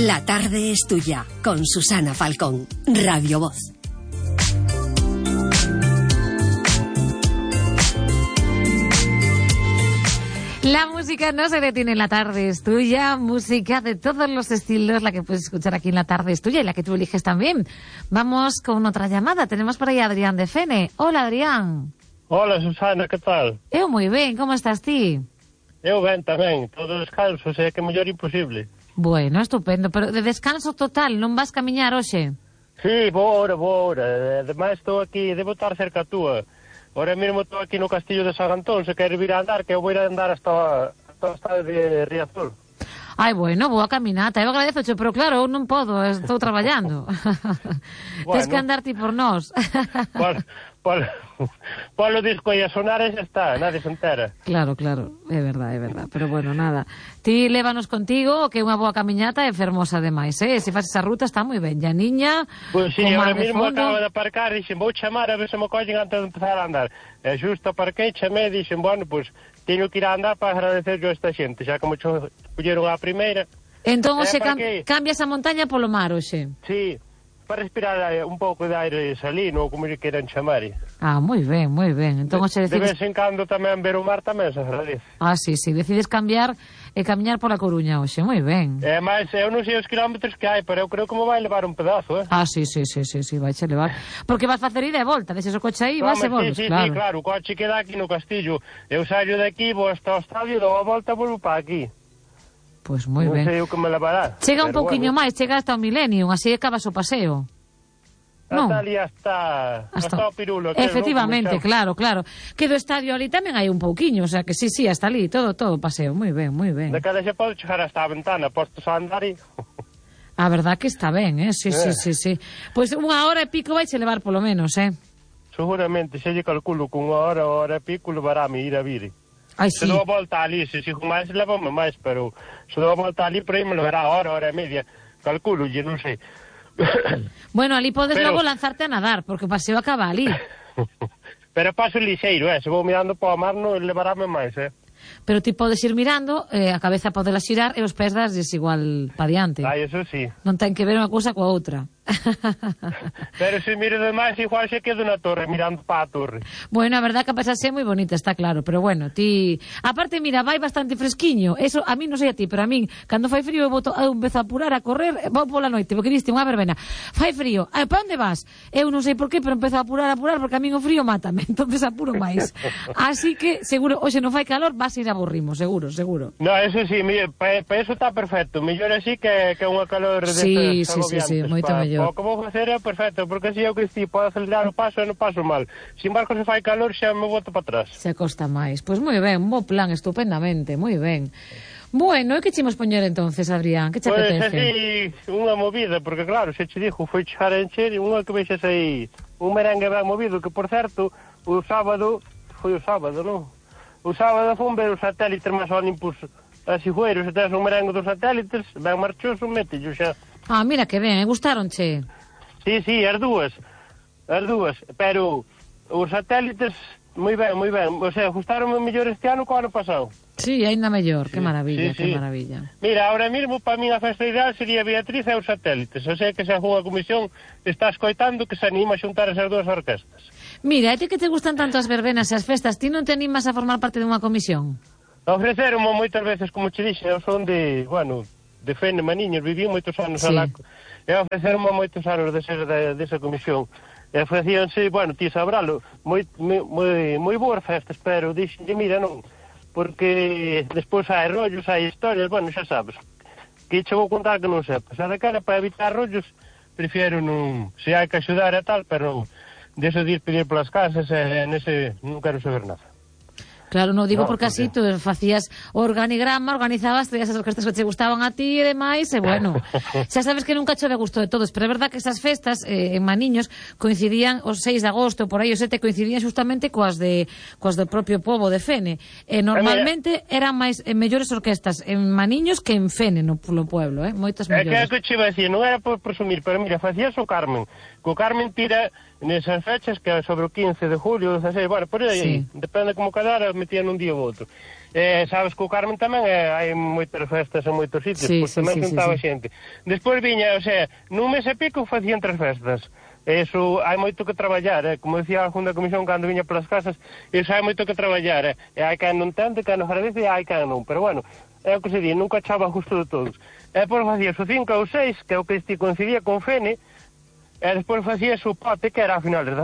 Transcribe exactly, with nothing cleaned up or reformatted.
La tarde es tuya, con Susana Falcón, Radio Voz. La música no se detiene en La tarde es tuya, música de todos los estilos, la que puedes escuchar aquí en La tarde es tuya y la que tú eliges también. Vamos con otra llamada, tenemos por ahí a Adrián de Fene. Hola, Adrián. Hola, Susana, que tal? Eu moi ben, como estás ti? Eu ben tamén, todo descanso, sei que é mellor imposible. Bueno, estupendo, pero de descanso total, non vas camiñar hoxe? Sí, vou ahora, vou ahora, ademais estou aquí, debo estar cerca a túa. Ahora mesmo estou aquí no Castillo de San Antón, se queres vir a andar, que eu vou ir a andar hasta, hasta o estado de Riazor. Ai, bueno, boa caminata, eu agradezo, pero claro, eu non podo, estou traballando. Bueno. Tens que andar ti por nós. Polo, polo, polo disco e a sonar e xa está, nadie se entera. Claro, claro, é verdad, é verdad, pero bueno, nada. Ti lévanos contigo, que é unha boa camiñata e fermosa demais, eh? Se faz esa ruta está moi ben, ya niña. Pois pues, sí, ahora mesmo acabo de aparcar e dixen, vou chamar a ver se me collen antes de empezar a andar. E xusto aparquei, chamei e dixen, bueno, pois, pues, teño que ir a andar para agradecer yo a esta xente, xa como cho colleron a primeira. Entón, hoxe cam cambias a montaña polo mar, hoxe? Sí, para respirar un pouco de aire salino, ou como lle queran chamar. Ah, moi ben, moi ben. Entón, hoxe decides... De vez en cando tamén ver o mar tamén se agradece. Ah, sí, sí, decides cambiar e camiñar pola Coruña hoxe, moi ben. É, mas eu non sei os kilómetros que hai, pero eu creo que me vai levar un pedazo, eh? Ah, sí, sí, sí, sí, sí, vai che levar. Porque vas facer ida e volta, deixes o coche aí, vas e volves, sí, sí, claro. Sí, claro, o coche queda aquí no Castillo. Eu saio de aquí, vou hasta o estadio, dou a volta e volvo para aquí. Pois pues moi ben. Non sei o que me levará. Chega un pouquiño bueno. máis, chega hasta o Millennium, así acabas o paseo. Non. Hasta ali, hasta, hasta, hasta o Pirulo. Efectivamente, claro, claro. Que do estadio ali tamén hai un pouquiño, o sea que sí, sí, hasta ali, todo, todo paseo, moi ben, moi ben. De cada xe pode chegar hasta a ventana, postos a andar e... A verdad que está ben, eh, sí, eh. sí, sí, sí. Pois pues unha hora e pico vai che levar polo menos, eh. Seguramente, se lle calculo que unha hora, hora e pico levarame ir a vir. Ai, sí. Se dou a volta ali, se sigo máis, levame máis, pero se dou a volta ali, por aí me levará hora, hora e media. Calculo, lle non sei. Bueno, ali podes pero... logo lanzarte a nadar, porque o paseo acaba ali. Pero paso lixeiro, eh? Se vou mirando para o mar, non levarame máis, eh? Pero ti podes ir mirando, eh, a cabeza podela xirar e os pés das desigual pa diante. Ai, eso sí. Non ten que ver unha cousa coa outra. Pero se miro demais, igual se quedo na torre, mirando para a torre. Bueno, a verdad que a paisaxe é moi bonita, está claro, pero bueno, ti... Aparte, mira, vai bastante fresquiño, eso a mí non sei a ti, pero a min, cando fai frío, eu, boto, eu empezo a apurar, a correr, vou pola noite, porque diste unha verbena, fai frío, eh, para onde vas? Eu non sei por qué, pero empezo a apurar, a apurar, porque a min o frío mátame, entonces apuro máis. Así que, seguro, hoxe non fai calor, vas a ir a aburrimos, seguro, seguro. No, eso sí, para pa eso está perfecto, mellor así que, que unha calor de sí, sí, sí, sí, moito pa, mellor. O que vou facer é perfecto, porque así eu que si podo acelerar o paso e non paso mal. Sin embargo, se fai calor xa me boto para atrás. Se acosta máis. Pois moi ben, un bo plan, estupendamente, moi ben. Bueno, e que chimos poñer entonces, Adrián? Que che pues, apetece? Pois así, unha movida, porque claro, se che dixo, foi char a encher, unha que vexas aí, un merengue ben movido, que por certo, o sábado, foi o sábado, non? O sábado fun ver os satélites máis Olympus a Sigüeiro, se tens un merengue dos satélites, ben marchoso, métello xa. Ah, mira que ben, gustaronche? Sí, sí, as dúas, as dúas, pero os satélites, moi ben, moi ben, o sea, gustaronme mellor este ano que o ano pasado. Sí, ainda mellor, sí, que maravilla, sí, que sí. maravilla. Mira, ahora mesmo, para min a festa ideal sería Beatriz e os satélites, o sea que se algunha comisión está escoitando que se anima a xuntar esas dúas orquestas. Mira, e ti que te gustan tanto as verbenas e as festas, ti non te animas a formar parte dunha comisión? Ofreceronme moitas veces, como che dixe, eu son de, bueno, de Fene, Maniños, viví moitos anos sí. alá, e ofreceronme moitos anos de ser de, desa comisión. E ofrecíanse, bueno, ti sabralo, moi, moi, moi boas festas, pero dixenlle, mira, non, porque despois hai rollos, hai historias, bueno, xa sabes, que che vou contar que non sepas. A de cara, para evitar rollos, prefiero non, se hai que axudar e tal, pero non, deso de ir pedir polas casas, e nese non quero saber nada. Claro, non digo no, porque así tú facías o organigrama, organizabas, traías as orquestas que te gustaban a ti e demais, e bueno, xa sabes que nunca chove a gusto de todos, pero é verdad que esas festas eh, en Maniños coincidían os seis de agosto, por aí os sete coincidían justamente coas de coas do propio pobo de Fene, e normalmente eran máis eh, mellores orquestas en Maniños que en Fene, no, no pueblo, eh, moitas mellores. É que é que che vai dicir, non era por presumir, pero mira, facías o Carmen, co Carmen tira nesas fechas, que é sobre o quince de julio, dezasseis, bueno, por aí, Sí. depende como cadara, metían un día ou outro. Eh, sabes que o Carmen tamén eh, hai moitas festas en moitos sitios, Sí, pois sí, tamén sí, juntaba sí, sí. xente. Despois viña, o sea, nun mes e pico facían tres festas. Eso hai moito que traballar, eh? Como decía a segunda comisión cando viña polas casas, eso hai moito que traballar, eh? E hai quen non tente, quen non agradece e hai quen non, pero bueno, é o que se di, nunca echaba a gusto de todos. E depois facías o cinco ou seis, que é o que este coincidía con Fene, e despois facías o pote, que era a finales da